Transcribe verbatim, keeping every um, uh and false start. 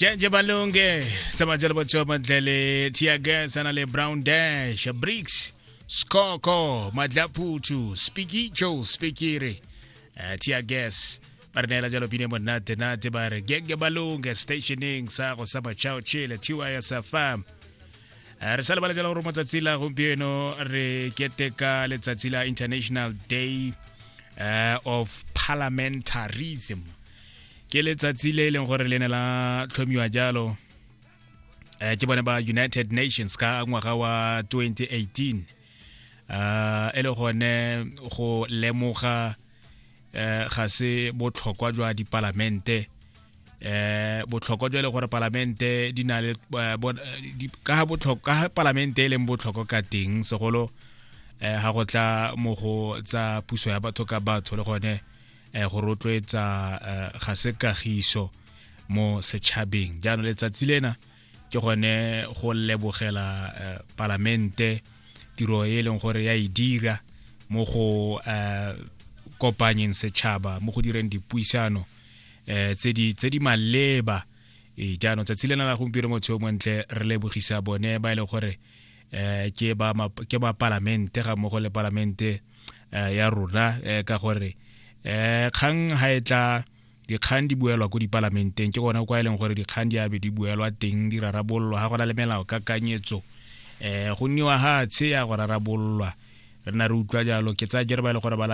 Jenje Balunge tsamaya jalo botho mantle le Tiagas ana le Brown Dash Bricks Skoko Madlaputu Spikicho Spikiri uh, Tiagas ba re neela jalo pine monate nate ba re genge balunge stationing sa go sa machao chile T Y S F M. Eh, re sa lebala jalo gore matsatsi la gompieno re keteka letsatsi la International Day uh, of Parliamentarism. Ke letsatsi le e leng gore le ne la tlhomiwa jalo eh, ke bone ba United Nations ka ngwaga wa twenty eighteen, uh, e le gone go lemoga eh, ga se botlhokwa jwa dipalamente, eh botlhokwa jwa e le gore palamente di na le eh, bo- eh, di- ka ha botlhokwa ka ha palamente e leng botlhokwa ka teng, segolo eh ha go tla mo go tsa puso ya batho ka batho, le gone eh go rotloetsa eh, ga se kagiso mo setšhabeng. Jaanong letsatsi lena ke gone go lebogela eh, palamente, tiro e leng gore ya e dira mo go eh, kopanyeng setšhaba, mo go direng dipuisano eh tse di tse di maleba. E jaanong tsatsi lena la gompieno, motho yo montle, re lebogisa bone ba e leng gore eh ke ba ma- ke ba palamente ga mmogo le palamente eh, ya rona, eh, ka gore eh kgang ha e tla, dikgang di buelwa ko dipalamenteng. Ke gona kwa e leng gore dikgang di abe di buelwa teng, di rarabololwa. Ga gona le melao kakanyetso, eh go nniwa hatshe ya go rarabololwa. Re nna re utlwa jalo, ke tsaya kere ba e le gore ba